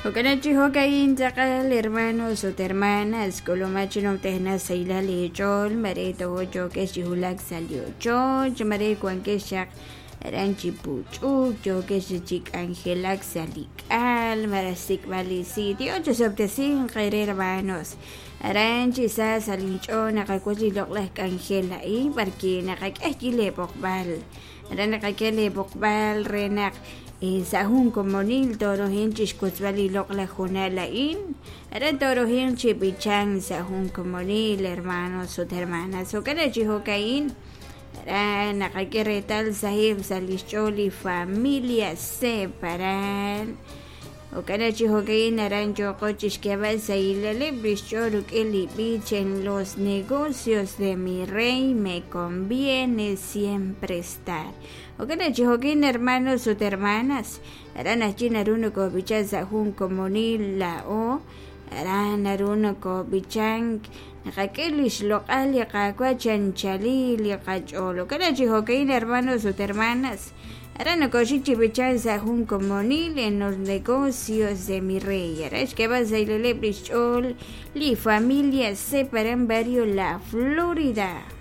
Jo'kan chi jo'ka'in tz'aqal hermanos ut hermanas k'ulumaj chi numtajenaq sahilal eech'ool mare tojo yookex chi wulak sa' li ochoch mare wankex chaq aran chi puch'uk yookex chi k'anjelak sa' li k'al malaj xsik'b'al li si' Dios chisob'tesinq eere hermanos aran chi sa sa' linch'ool naqawotz li loq'laj k'anjel a'in b'arwi' naqak'e ajwi' leeb'oqb'al aran naqak'e leeb'oqb'al re naq sa' jun komonil toorohin chi xwotzb'al li loq'laj hoonal a'in aran toorohin chi b'ichank sa' jun komonil hermanos ut hermanas jo'kan chi jo'ka'in aran naqak'e reetal saheb' sa' li xch'ool li familia Separan jo'kan chi jo'ka'in aran yooqo chi xk'eeb'al sahilaleb' li xch'ool rik'in li b'ich en los negocios de mi rey me conviene siempre estar jo'kan chi jo'ka'in hermanos ut hermanas aran ajwi' naru nokob'ichan sa' jun komonil laa'o aran naru nokob'ichank naqak'e li xloq'al li Qaawa' chi anchalil li qach'ool jo'kan chi jo'ka'in hermanos ut hermanas aran nokoxik chi b'ichank sa' jun komonil en los negocios de mi rey aran xk'eeb'al sahilaleb' li xch'ool li familia Separan barrio La Florida.